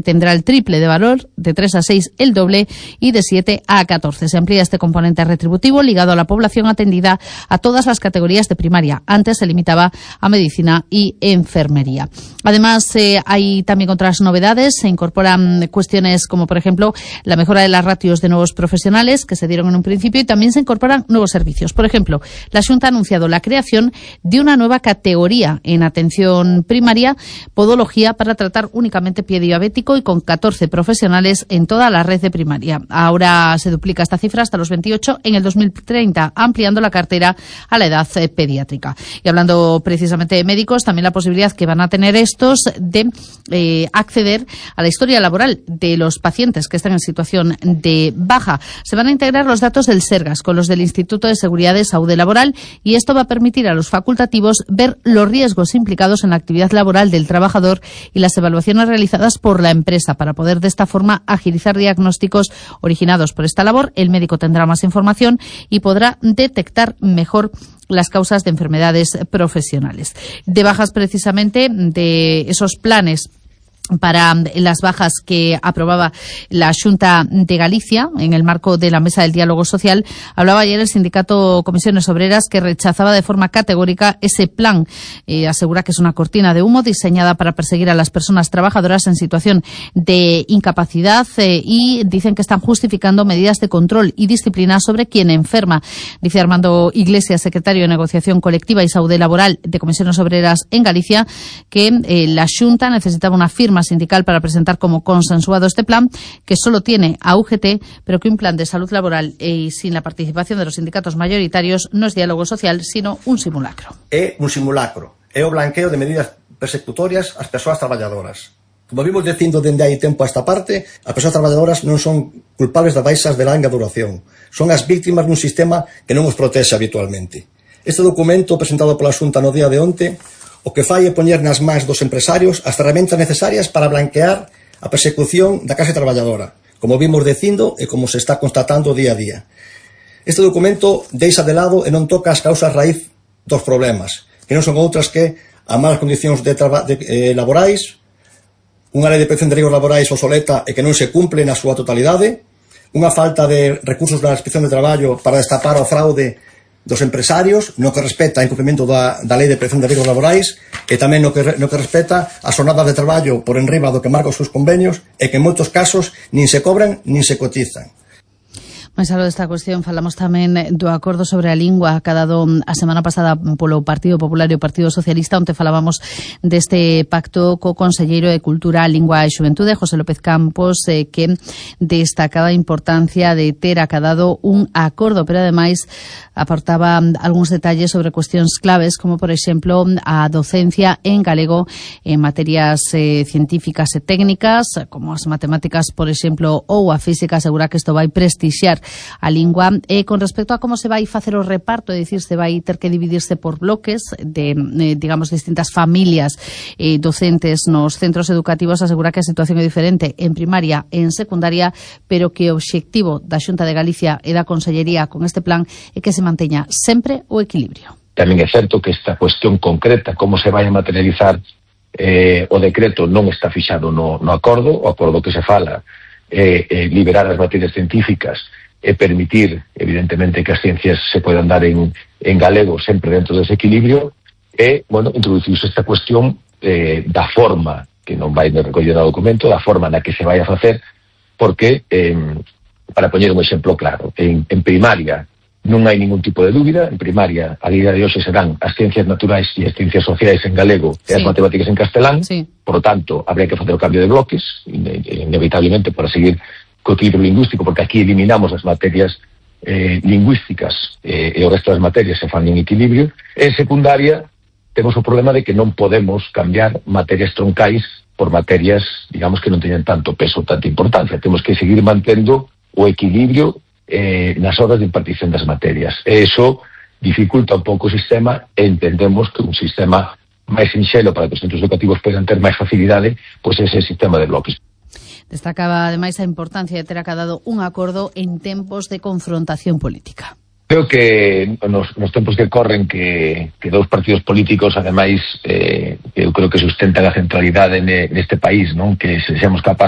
tendrá el triple de valor, de 3 a 6 el doble y de 7 a 14. Se amplía este componente retributivo ligado a la población atendida a todas las categorías de primaria. Antes se limitaba a medicina y enfermería. Además, hay también otras novedades. Se incorporan cuestiones como, por ejemplo, la mejora de las ratios de nuevos profesionales que se dieron en un principio, y también se incorporan nuevos servicios. Por ejemplo, la Xunta ha anunciado la creación de una nueva categoría en atención primaria, podología, para tratar únicamente pie diabético, y con 14 profesionales en toda la red de primaria. Ahora se duplica esta cifra hasta los 28 en el 2030, ampliando la cartera a la edad pediátrica. Y hablando precisamente de médicos, también la posibilidad que van a tener estos de acceder a la historia laboral de los pacientes que están en situación de baja. Se van a integrar los datos del Sergas con los del Instituto de Seguridad de Salud Laboral, y esto va a permitir a los facultativos ver los riesgos implicados en la actividad laboral del trabajador y las evaluaciones realizadas por la empresa, para poder de esta forma agilizar diagnósticos originados por esta labor. El médico tendrá más información y podrá detectar mejor las causas de enfermedades profesionales. De bajas, precisamente, de esos planes para las bajas que aprobaba la Xunta de Galicia en el marco de la Mesa del Diálogo Social, hablaba ayer el sindicato Comisiones Obreras, que rechazaba de forma categórica ese plan. Asegura que es una cortina de humo diseñada para perseguir a las personas trabajadoras en situación de incapacidad, y dicen que están justificando medidas de control y disciplina sobre quien enferma. Dice Armando Iglesias, secretario de Negociación Colectiva y Salud Laboral de Comisiones Obreras en Galicia, que la Xunta necesitaba una firma sindical para presentar como consensuado este plan, que solo tiene a UGT, pero que un plan de salud laboral y sin la participación de los sindicatos mayoritarios no es diálogo social, sino un simulacro. É un simulacro, é o blanqueo de medidas persecutorias ás persoas traballadoras. Como vimos dicindo dende hai tempo a esta parte, as persoas traballadoras non son culpables das baixas de longa duración, son as víctimas dun sistema que non os protexe habitualmente. Este documento presentado pola Xunta no día de onte o que fai é poñer nas mans dos empresarios as ferramentas necesarias para blanquear a persecución da clase traballadora, como vimos dicindo e como se está constatando día a día. Este documento deixa de lado e non toca as causas raíz dos problemas, que non son outras que a malas condicións laborais, unha lei de protección de riscos laborais obsoleta e que non se cumple na súa totalidade, unha falta de recursos da Inspección de Traballo para destapar o fraude dos empresarios, no que respecta a incumprimento da lei de prevención de riscos laborais, e tamén no que respecta a xornadas de traballo por enriba do que marca os seus convenios, e que en moitos casos nin se cobran nin se cotizan. Mais algo desta cuestión, falamos tamén do acordo sobre a lingua que ha dado a semana pasada polo Partido Popular e o Partido Socialista, onde falábamos deste pacto co conselleiro de Cultura, Lingua e Xuventude, José López Campos, que destacaba a importancia de ter acadado un acordo, pero ademais aportaba algúns detalles sobre cuestións claves, como por exemplo a docencia en galego en materias científicas e técnicas, como as matemáticas, por exemplo, ou a física. Asegura que isto vai prestixiar a lingua. Con respecto a como se vai facer o reparto, é dicir, se vai ter que dividirse por bloques de, digamos, distintas familias docentes nos centros educativos. Asegura que a situación é diferente en primaria e en secundaria, pero que o obxectivo da Xunta de Galicia e da Consellería con este plan é que se manteña sempre o equilibrio. Tamén é certo que esta cuestión concreta, como se vai a materializar o decreto, non está fixado no acordo. O acordo que se fala é liberar as materias científicas e permitir, evidentemente, que as ciencias se podan dar en galego sempre dentro dese equilibrio, e, bueno, introducirse esta cuestión da forma, que non vai recoller no documento, da forma na que se vai a facer, porque, para poñer un exemplo claro, en primaria non hai ningún tipo de dúbida. En primaria, a día de hoxe, serán as ciencias naturais e as ciencias sociais en galego e as matemáticas en castelán. Por lo tanto, habría que facer o cambio de bloques, inevitablemente, para seguir co equilibrio lingüístico, porque aquí eliminamos as materias lingüísticas e o resto das materias se fan en equilibrio. En secundaria, temos o problema de que non podemos cambiar materias troncais por materias, digamos, que non teñan tanto peso, tanta importancia. Temos que seguir mantendo o equilibrio nas horas de impartición das materias. E iso dificulta un pouco o sistema, e entendemos que un sistema máis sinxelo para que os centros educativos poden ter máis facilidade, pois ese sistema de bloques. Destacaba ademais a importancia de ter acadado un acordo en tempos de confrontación política. Creo que nos tempos que corren que dous partidos políticos, ademais, eu creo que sustentan a centralidade neste país, non? Que sexamos capaces